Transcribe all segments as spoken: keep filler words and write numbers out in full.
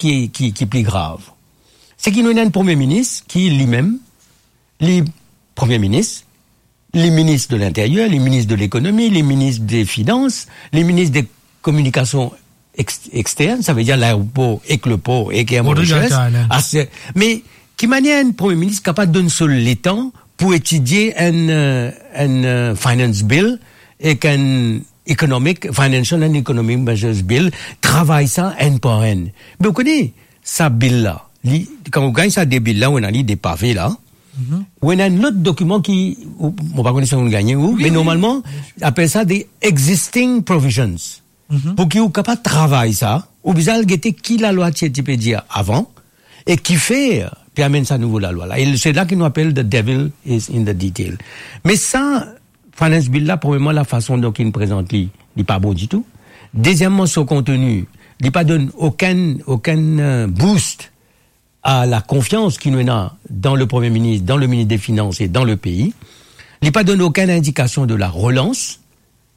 ki, ki, ki pli grav. Se ki nou ena enn Premie Minis ki limem, li Premie Minis, li Minis de Linteryer, li Minis de Lekonomi, li Minis de Finans, li Minis de Kominikasion ex-, Externe, savedir laeropor ek lepor ek Air Rodrigue Mauritius. Allen. Ase-, me ki manier enn Premie Minis kapav donn so letan pou etidie enn, eh, enn, eh, finance bill ek enn economic, financial and economic measures bill, travay sa enn par enn? Me ou kone, sa bill la, li, kan ou gagn sa de bill la, ou ena li de pave la, ou ena enn lot dokiman ki, ou, mo pa kone si ou gagne ou, me normalman, apel sa de existing provisions. Pou ki ou kapav travay sa, ou bizin al gete ki lalwa ti, ti pe dir avan, e kifer pe amenn sa nouvo lalwa la. E se la ki nou apel the devil is in the detail. Me sa, finance bill la, premierman, lafason donk li prezant li, li pa bon ditou. Dezieman, so konteni, li pa donn okenn, okenn, eh, boost a la konfians ki nou ena dan le Premie Minis, dan le Minis de Finans e dan le pei. Li pa donn okenn indikasion de la relans.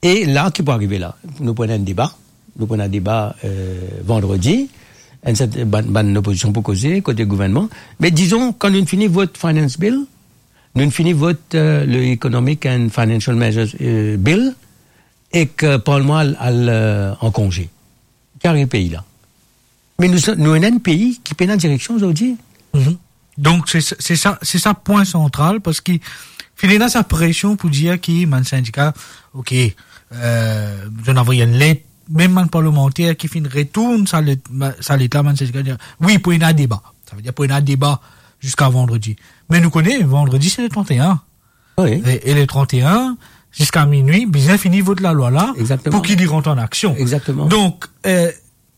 E la, ki pou arive la? Nou pou ena enn deba. Nou pou ena deba, eh, vandredi. Enn set-, bann, bann lopozision pou koze, kote gouvernman. Me dizon, kan nou fini vot finance bill, nou fini vot, eh, le Economic and Financial Measures, eh, Bill, ek, eh, parlman al, al, eh, an konze. Ki arive pei la? Me nou, nou ena enn pei ki pena direksion zordi. Donk, se, se sa, se sa pwin santral, parski finn ena sa presion pou dir ki bann sindika, ok, eh, zot inn avoy enn let, mem bann parlemanter ki finn retourn sa let, sa let la, bann sindika dir, wi, pou ena deba. Savedir pou ena deba ziska vandredi. Me nou kone, vandredi, se le trant-e-enn. Wi. E, e le trant-e-enn, ziska minwi, bizin fini vot lalwa la, pou ki li rant an aksion. Egzakteman. Donk, eh,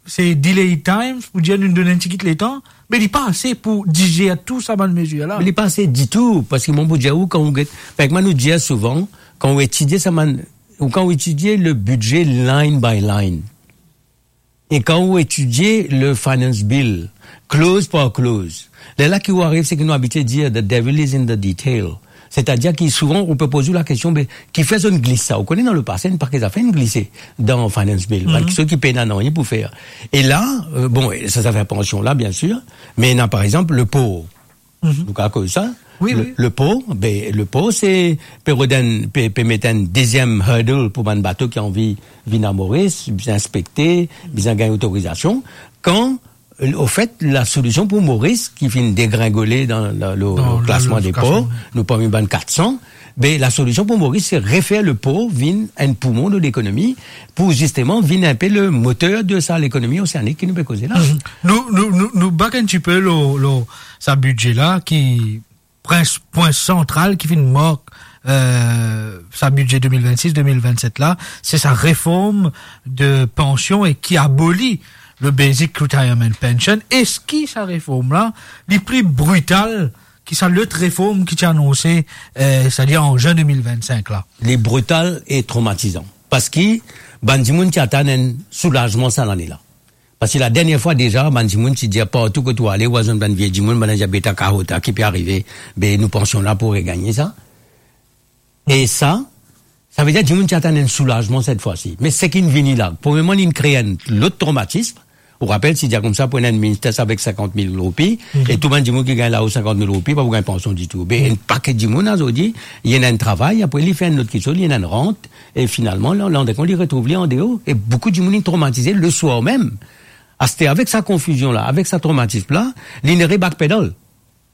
se delay times pou dir nou donn enn tigit letan, me li pa ase pou dizer tou sa bann mezir la. Me li pa ase ditou, parski mo pou dir ou, kan ou get, parski mwa nou dir souvan, kan ou etidie sa bann, ou kan ou etidie le bidze line by line, e kan ou etidie le finance bill, clause par clause, lerla ki ou ariv, seki nou abitie dir, the devil is in the detail. Setadir ki souvan, ou pe poz ou lakestion, be, kifer zot inn glis sa? Ou kone dan lepase, enn pake zafer inn glise dan finance bill. Bann kiksoz ki pena nanye pou fer. E la, eh, bon, e sa, zafer pansion la, biensir, me ena, par exanp, lepor. Nou kapav koz sa. Wi, le, wi. Lepor, be, lepor, se pe rod enn, pe, pe met enn deziem hurdle pou bann bato ki anvi vinn a Moris, bizin inspekte, bizin gagn otorizasion. Kan, ofet, lasolision pou Moris, ki finn degringole dan la, lo, lo klasman de por, nou parmi bann kat san, be, lasolision pou Moris, se refer lepor vinn enn poumon de lekonomi, pou zisteman vinn inpe le moter de sa lekonomi oseanik ki nou pe koze la. Nou, nou, nou, nou back enn tipe lo, lo sa bidze la ki prin, pwin santral ki finn mark, eh, sa bidze de mil vennsis, de mil vennset la, se sa reform de pansion e ki aboli le basic retirement pension. Eski sa reform la, li pli brital ki sa lot reform ki ti anonse, eh, setadir an zin de mil vennsink la? Li brital e tromatizan. Parski bann dimoun ti atann enn soulazman sa lane la. Parski ladernie fwa deza, bann dimoun ti dir partou kot ou ale, ou al zwenn bann vie dimoun, bann-la dir, "Be, ta kaota, ki pe arive? Be, nou pansion la pou regagne sa." E sa, savedir dimoun ti atann enn soulazman set fwa si. Me seki inn vini la, premierman, li inn kree enn lot tromatism. Ou rapel, ti dir koumsa pou ena enn Minstes avek sinkant mil roupi, e tou bann dimoun ki gagn lao sinkant mil roupi, pa pou gagn pansion ditou. Be, enn pake dimoun azordi, li ena enn travay, apre li fer enn lot kiksoz, li ena enn rant, e finalman, la, landekont, li retrouv li andeor. E boukou dimoun inn tromatize leswar mem. Aster, avek sa konfizion la, avek sa tromatism la, li inn re-backpedal.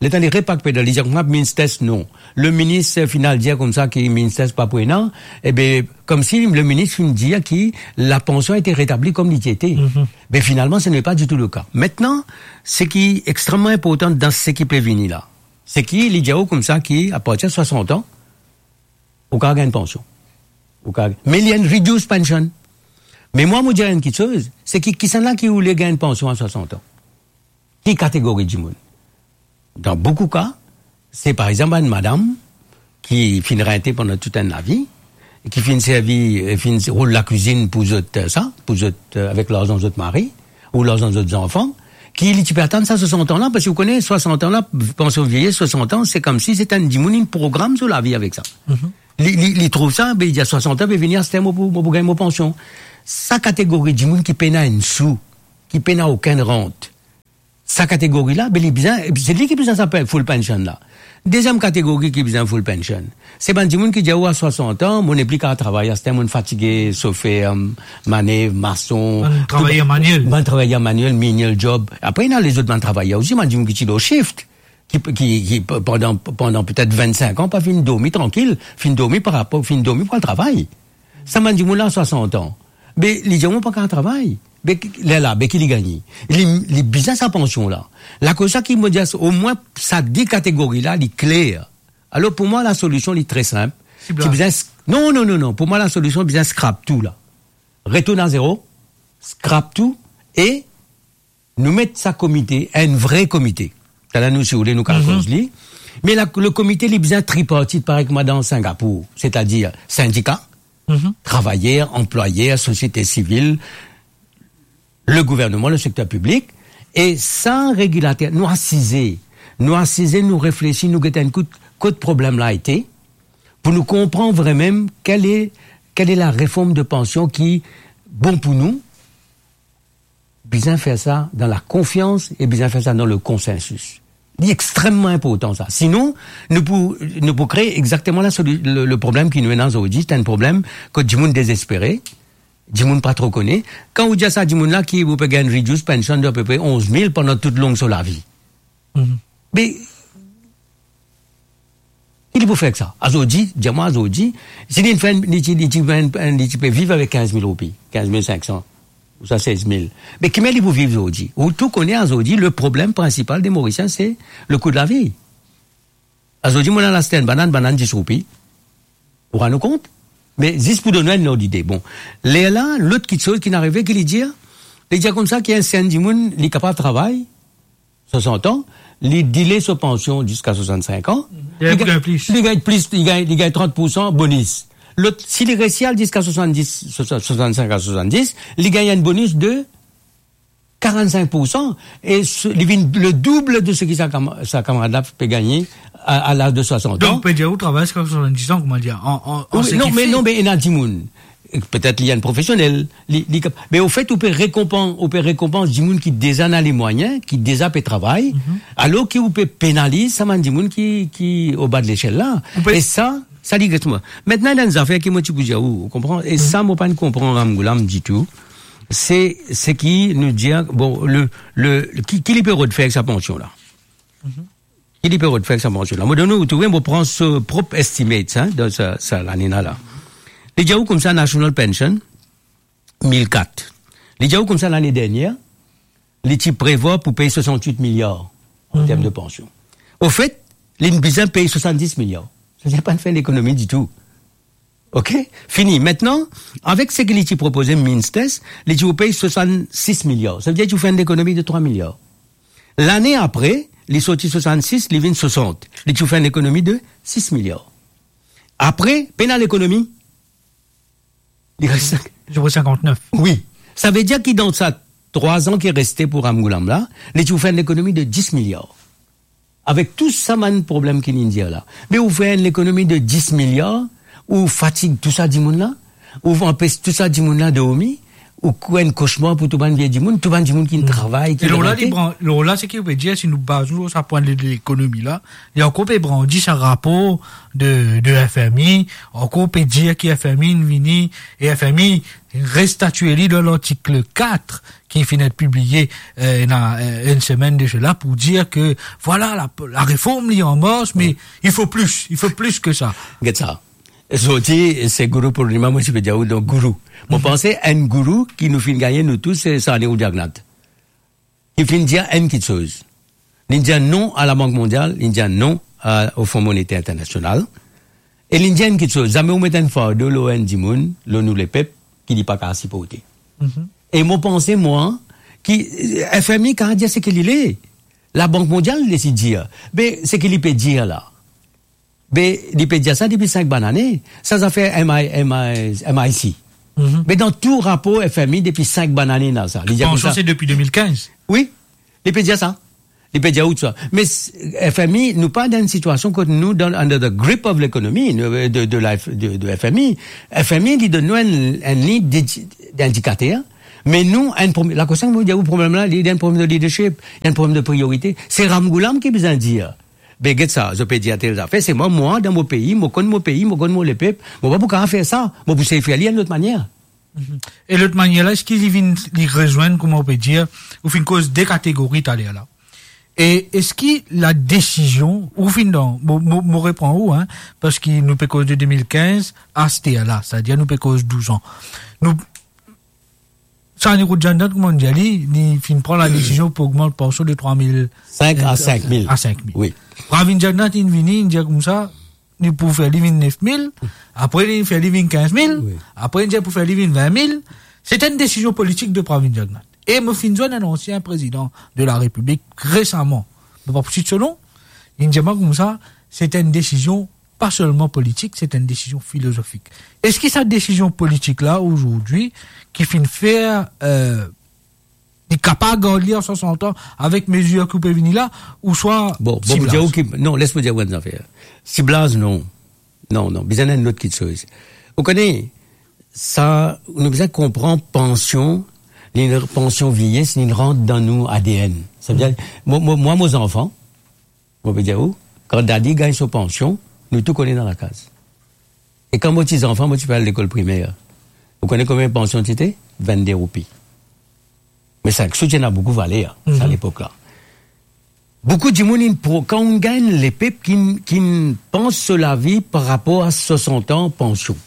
Letan li re-backpedal, li dir koumsa Minstes non. Le minis, eh, final dir koumsa ki Minstes pa pou ena, ebe, koumsi le minis finn dir ki la pansion ete retabli kom li ti ete. Me finalman, ce n'est pas du tout le cas. Maintenant, seki extreman inportan dan seki pe vini la, seki li dir ou koumsa ki, apartir swasant an, ou kapav gagn pansion. Ou kapav, me li enn reduced pension. Me mwa, mo dir enn kiksoz, seki kisannla ki oule gagn pansion a swasant an? Ki kategori dimoun? Dan boukou ka, se par exanp enn madam ki finn rente pandan tou enn lavi, ki finn servi, eh, finn rol lakwizinn pou zot, eh, sa, pou zot, eh, avek larzan zot mari, ou larzan zot zanfan, ki li ti pe atann sa swasant an la, parski ou kone, swasant an la, pansion vieyes, swasant an, se koumsi se enn dimoun inn program so lavi avek sa. Li, li, li trouv sa, be, li dir swasant an pe vini, aster mo pou, mo pou gagn mo pansion. Sa kategori dimoun ki pena enn sou, ki pena okenn rant, Sa kategori la, be li bizin, se li ki bizin sa pe-, full pension la. Dezyem kategori ki bizin full pension, se bann dimoun ki dir, "Ou a swasant an, mo nepli kapav travay, aster mo fatige, sofer, manev, mason, bann travayer tou, maniel. Bann travayer maniel, menial job." Apre, ena lezot bann travayer osi, bann dimoun ki ti lor shift, ki, ki, ki pandan, pandan petet vennsenk an, pa finn dormi trankil, finn dormi par rapor, finn dormi pou al travay. Sa bann dimoun la, swasant an. Be, li dir, "Mo pa kapav travay." Be, ki, lerla, be, ki li gagne? Li, li bizin sa pansion la. Lakoz sa ki mo dir, omwin sa de kategori la, li kler. Alor, pou mwa, lasolision, li tre sinp. Siblaz. Ti bizin s-, non, non, non, non. Pou mwa, lasolision, bizin scrap tou la. Retourn a zero, scrap tou, e nou met sa komite, enn vre komite. Taler nou, si ou le, nou kapav koz li. Me la, le komite, li bizin tripartit, parey kouma dan Singapour, setadir sindika, travayer, anplwayer, sosiete sivil, le gouverneman, le sekter piblik, e sa regilater, nou asize, nou asize, nou reflesi, nou get enn kout, kot problem la ete, pou nou konpran vremem kel e, kel e lareform de pansion ki bon pou nou, bizin fer sa dan lakonfians e bizin fer sa dan lekonsensis. Li extrememan inportan sa. Sinon, nou pou, nou pou kree exakteman la soli-, le, le problem ki nou ena zordi, se enn problem kot dimoun dezespere, dimoun pa tro kone. Kan ou dir sa dimoun la ki ou pe gagn reduced pension de apepre onz mil pandan tou long so lavi. Be, ki li pou fer ek sa? Azordi, dir mwa azordi, si li fer, li ti, li ti, li ti pe viv avek kinz mil roupi, kinz mil sink san, ouswa sez mil. Me ki manier li pou viv zordi? Ou tou kone azordi, le problem prinsipal de Morisien, se le kou de lavi. Azordi, mo al aste enn banann, banann dis roupi. Ou rann ou kont? Me zis pou donn enn lord lide. Bon, lerla, lot kitsoz ki arive, ki li dir? Li dir koumsa ki enn, si enn dimoun, li kapav travay, swasant an, li dile so pansion ziska swasannsink an, li gagn plis. Li gagn plis, li gagn, li gagn trant poursan bonis. Lot, si li resi al ziska swasanndis, swasann-, swasannsink a swasanndis, li gagn enn bonis de karannsink poursan, e se, li vinn le doub de seki sa kama-, sa kamarad la pe gagne a, a laz de swasant an. Donk, pe dir ou travay ziska swasanndis an, kouma dir, an, an, an... Wi, non, me non, me ena dimoun, petet li enn profesionel, li, li kap-, me anfet, ou pe rekonpan-, ou pe rekonpans dimoun ki deza ena lemwayin, ki deza pe travay, alor ki ou pe penaliz sa bann dimoun ki, ki oba de lesel la. Ou pe... E sa, sa li res mwa. Mintnan, ena enn zafer ki mo ti pou dir ou, ou konpran? E sa, mo pa'nn konpran Ramgoolam ditou. Se, se ki nou dir, bon, le, le, ki, ki li pe rod fer ek sa pansion la? Ki li pe rod fer ek sa pansion la? Mo donn ou, ou trouve, mo pran so prop estimate, hein, dan sa, sa lane la. Li dir ou koumsa national pension, mil kat. Li dir ou koumsa lane dernier, li ti prevwar pou pey swasannwit miliar an term de pansion. Anfet, li bizin pey swasanndis miliar. Savedir li pa'nn fer lekonomi ditou. Ok? Fini. Mintnan, avek seki li ti propoze Minsters, li ti pou pey swasannsis miliar. Savedir li ti pou fer enn lekonomi de trwa miliar. Lane apre, li sorti swasannsis, li vinn swasant. Li ti pou fer enn lekonomi de sis miliar. Apre, pena lekonomi. Li res... Li ti pou sinkantnef. Wi. Savedir ki dan sa trwa an ki reste pou Ramgoolam la, li ti pou fer enn lekonomi de dis miliar. Avek tou sa bann problem ki nou dir la. Me ou fer enn lekonomi de dis miliar, ou fatig tou sa dimoun la, ou anpes tou sa dimoun la dormi, ou kree enn kosmar pou tou bann vie dimoun, tou bann dimoun ki travay, ki... E lor la, li bran-, lor la, seki ou pe dir, si nou baz nou lor sa pwin de lekonomi la, li ankor pe brandi sa rapor de, de F M I, ankor pe dir ki F M I inn vini, e F M I restatie li dan lartik kat ki finn et pibliye, eh, ena, eh, enn semenn de sela pou dir ke, vwala, la, la reform li an mars, me il faut plus, il faut plus que ça. Get sa. Zordi, se Guru Purnima, mo ti pe dir ou, donk Guru. Mo panse enn Guru ki nou finn gagne nou tou, se Sani Rudyagnath. Li finn dir enn kitsoz. Li dir non a Labank Mondial, li dir non a, o Fon Monete Internasional. E li dir enn kitsoz, zame ou met enn fardo lor enn dimoun, lor nou lepep, ki li pa kapav siporte. E mo panse, mwa, ki, eh, F M I kapav dir seki li le. Labank Mondial, li dir. Me seki li pe dir la. Be, li pe dir sa depi sink bann ane. Sa zafer M I, M I, M I C. Be, dan tou rapor F M I depi sink bann ane, ena sa. Li dir koumsa. Pansion, se depi de mil kinz. Wi, li pe dir sa. Li pe dir ou sa. Me s-, F M I, nou pa dan enn sitiasion kot nou dan under the grip of lekonomi, nou, de, de la F-, de, de F M I. F M I, li donn nou enn, enn lign d'indi-, d'indikater, Me nou, enn problem, la kosa mo dir ou, problem la, li, li enn problem de leadership, li enn problem de priorite. Se Ramgoolam ki bizin dir, be, get sa, zot pe dir tel zafer, se mwa, mwa, dan mo pei, mo konn mo pei, mo konn mo lepep, mo pa pou kapav fer sa, mo pou sey fer li enn lot manier. Mhm. E lot manier la, eski li vinn, li rezwenn, kouma ou pe dir, ou finn koz de kategori taler la? E eski la desizion, ou finn dan, mo, mo, mo repran ou, hein, parski nou pe koz de de mil kinz aster la, setadir nou pe koz douz an. Nou, Sani Rod Jagnath, kouma nou dir li, li finn pran la desizion pou ogmant pansion de trwa mil, sink a sink mil. A sink mil. Wi. Pravind Jagnath, li vini, li dir koumsa, li pou fer li vinn nef mil, apre li fer li vinn kinz mil, wi, apre li dir pou fer li vinn vin mil. Se enn desizion politik de Pravind Jagnath. E mo finn zwenn enn ansien prezidan de la Repiblik resaman, mo pa pou sit so non, li dir mwa koumsa, se enn desizion pa selman politik, se enn desizion filozofik. Eski sa desizion politik la, azordi, ki finn fer, euh, li kapav gard li an swasant an avek mezir ki pe vini la, ouswa... Bon, bon, mo dir ou ki, non, les mo dir ou enn zafer. Siblaz, non. Non, non, bizin enn lot kiksoz. Ou kone, sa, nou bizin konpran pansion, li pansion vieyes, li rant dan nou A D N. Savedir, mo, mo, mwa, mo zanfan, mo pe dir ou, kan dadi gagn so pansion, nou tou kone dan lakaz. E kan mo ti zanfan, mo ti pe al lekol primer. Ou kone konbien pansion ti ete? Vennde roupi. Me sink sou ti ena boukou valer, sa, mhm, lepok la. Boukou dimoun inn pro-, kan ou gagn lepep ki, ki pans so lavi par rapor a swasant an pansion.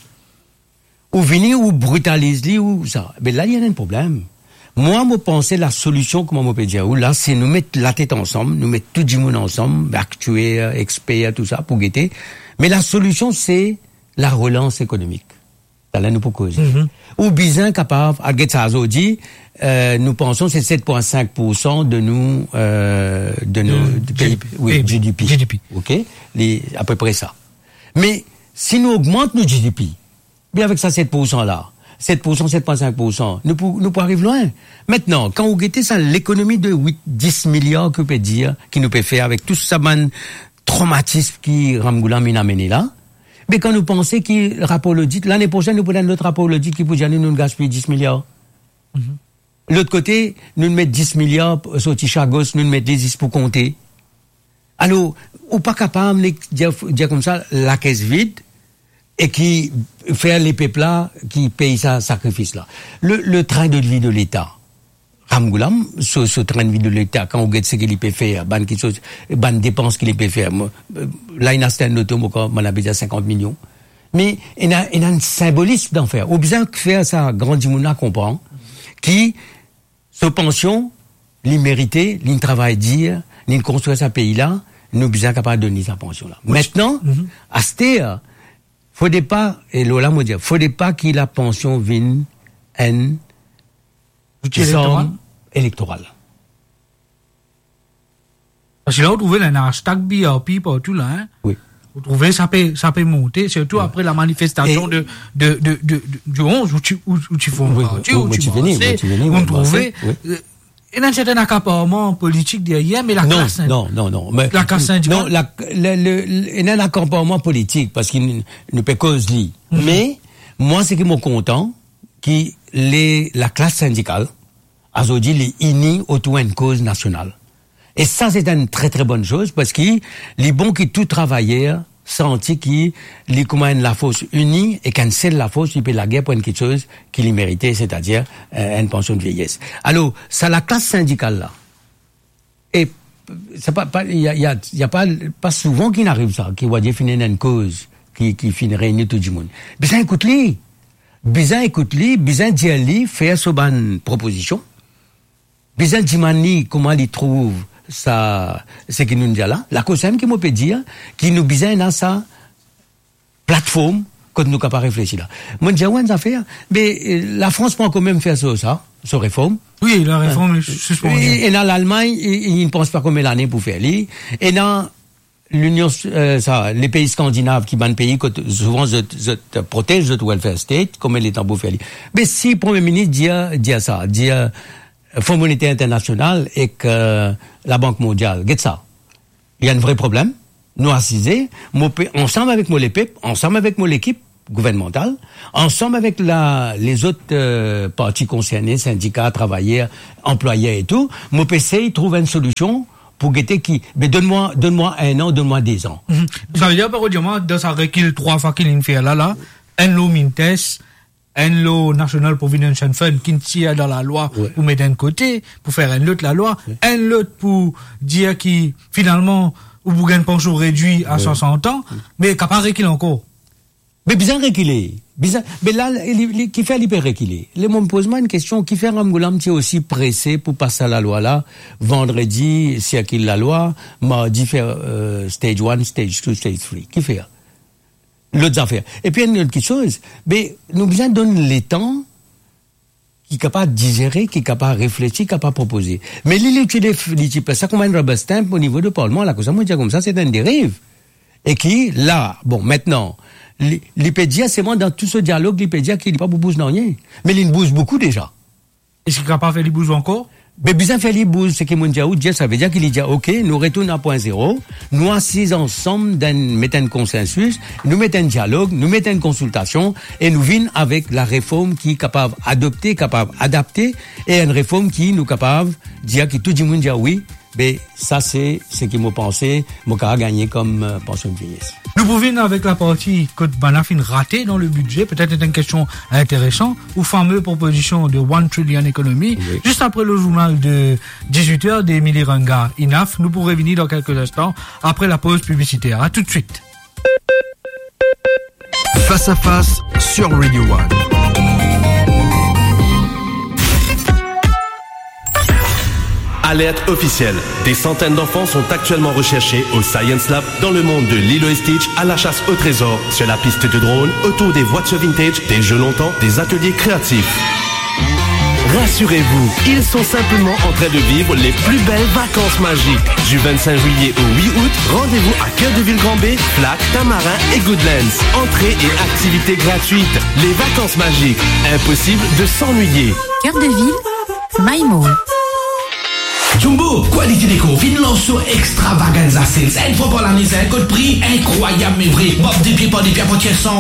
Ou vini, ou britaliz li, ou sa. Be la, li ena enn problem. Mwa, mo panse lasolision, kouma mo pe dir ou la, se nou met latet ansam, nou met tou dimoun ansam, aktier, eksper, tou sa, pou gete. Me lasolision, se larelans ekonomik. Taler nou pou koze. Mhm. Ou bizin kapav, al get sa azordi, euh, nou pansion se set pwin sink poursan de nou, euh, de nou, de pei, G D P. Wi, G D P. G D P. Ok? Li apepre sa. Me si nou ogmant nou G D P, be avek sa set poursan la, set poursan, set pwin sink poursan, nou pou, nou pou ariv lwin. Aster, kan ou gete sa lekonomi de wit, dis miliar ki ou pe dir, ki nou pe fer avek tou sa bann tromatism ki Ramgoolam inn amene la, be kan nou panse ki rapor lodit, lane prosenn nou pou donn lot rapor lodit ki pou dir nou, nou gaspiy dis miliar. Mhm. Lot kote, nou met dis miliar sorti sa gos, nou met li zis pou konte. Alor, ou pa kapav nek dir, dir koumsa, lakes vid, e ki fer lepep la ki pey sa sakrifis la. Le, le train de vie de Leta. Ramgoolam, so, so train de vie de Leta, kan ou get seki li pe fer, bann kiksoz, bann depans ki li pe fer. Mo, euh, la, inn aste enn loto, mo krwar, mo ena bizin sinkant milion. Me ena, ena enn sinbolism dan fer. Ou bizin fer sa gran dimoun la konpran ki so pansion, li merite, li travay dir, li konstrir sa pei la, nou bizin kapav donn li sa pansion la. Aster, fode pa, e lor la mo dir, fode pa ki lapansion vinn enn zouti elektoral. Zam elektoral. Parski la, ou trouve, ena hashtag B R P partou la, hein. Wi. Ou trouve, sa pe, sa pe monte, sirtou apre lamanifestasion de, de, de, de, de, di onz, ou ti, ou, ou ti form parti, ou ti marse, ou trouve, euh, ena enn serten akaparman politik deryer, me laklas, non, non, non, non, me laklas sindikal. Non, la, le, le, le, ena enn akaparman politik, parski nou, nou pe koz li. Me, mwa, seki mo kontan, ki le, laklas sindikal, azordi, li ini otour enn koz nasional. E sa, se enn tre, tre bonn soz, parski li bon ki tou travayer santi ki li kouma enn lafors ini, ek enn sel lafors, li pe lager pou enn kiksoz ki li merite, setadir, eh, enn pansion de vieyes. Alor, sa laklas sindikal la, e sa pa, pa, y a, y a, y a pa, pa souvan ki'nn ariv sa, ki ou dir finn ena enn koz ki, ki finn reyni tou dimoun. Bizin ekout li. Bizin ekout li, bizin dir li, fer so bann propozision. Bizin dimann li kouma li trouv sa, seki nou dir la. Lakoz samem ki mo pe dir, ki nou bizin ena sa platform kot nou kapav reflesi la. Mo dir ou enn zafer, be, eh, Lafrans pou kanmem fer so sa, so reform. Wi, lareform, eh, sispann. Ena Lalmagn, i, i, i pans pa konbien lane pou fer li. Ena Linion, eh, sa, lepei skandinav ki bann pei kot souvan zot, zot protez zot welfare state, konbien letan pou fer li. Me si Premie Minis dir, dir sa, dir, eh, Fon Monete Internasional ek, eh, Labank Mondial, get sa. Li enn vre problem. Nou asize, mo pe ansam avek mo lepep, ansam avek mo lekip, gouvernmantal, ansam avek la, lezot, euh, parti konserne, sindika, travayer, anplwayer e tou, mo pe esey trouv enn solision pou gete ki, be, donn mwa, donn mwa enn an, donn mwa de zan. Mhm. Sa ve dir, par exemple, dan sa rekil trwa fwa ki linn fer la, la, enn lor Mintes, enn lor National Provident Fund ki inn tir dan lalwa, wi, pou met enn kote, pou fer enn lot lalwa, wi, enn lot pou dir ki, finalman, ou pou gagn pansion redwir a, wi, swasant an, wi, me kapav rekil ankor. Me bizin rekile. Bizin, me la, li, li, kifer li pe rekile? Le mo poz mwa enn kestion, kifer Ramgoolam ti osi prese pou pas sa lalwa la, vandredi, sirkil lalwa, mardi fer, euh, stage one, stage two, stage three? Kifer? Lot zafer. Epi enn lot kiksoz, be, nou bizin donn letan ki kapav dizere, ki kapav reflesi, kapav propoze. Me li, li ti def-, li ti plas sa kouma enn rubber stamp o nivo de parlman, la, koumsa, mo dir koumsa, se enn deriv. E ki, la, bon, mintnan, li, li pe dir selman dan tou so dialog, li pe dir ki li pa pou bouz nanye. Me li bouz boukou deza. Eski kapav fer li bouz ankor? Be bizin fer li bouz, seki mo dir ou, dir, sa ve dir ki li dir, "Ok, nou retourn a pwin zero, nou asiz ansam, dan, met enn konsensis, nou met enn dialog, nou met enn konsiltasion, e nou vinn avek la reform ki kapav adopte, kapav adapte, e enn reform ki nou kapav dir ki tou dimoun dir wi, be sa se seki mo panse, mo kapav gagne kom, euh, pansion de vieyes." Nou pou vinn avek laparti kot bann la finn rate dan le bidze, petet enn kestion interesan, ou fame propozision de one trillion economy, wi, zis apre le zournal de dizwit er de Emily Ranga, Enough. Nou pou revini dan kelke instan, apre la poz piblisiter. A toutswit. Face à face sur Radio One. Alerte officielle. Des centaines d'enfants sont actuellement recherchés au Science Lab dans le monde de Lilo et Stitch, à la chasse au trésor, sur la piste de drone, autour des voitures vintage, des jeux longtemps, des ateliers créatifs. Rassurez-vous, ils sont simplement en train de vivre les plus belles vacances magiques. Du vingt-cinq juillet au huit août, rendez-vous à Cœur de Ville Grand Baie, Flaque, Tamarin et Goodlands. Entrée et activités gratuites. Les vacances magiques, impossible de s'ennuyer. Cœur de Ville, My Mall. Jumbo, Quality Déco finn lans so extravaganza sales. Enn fwa par lane, sa enn kot pri inkrwayab, me vre. Mab de pie par de pie, apatir san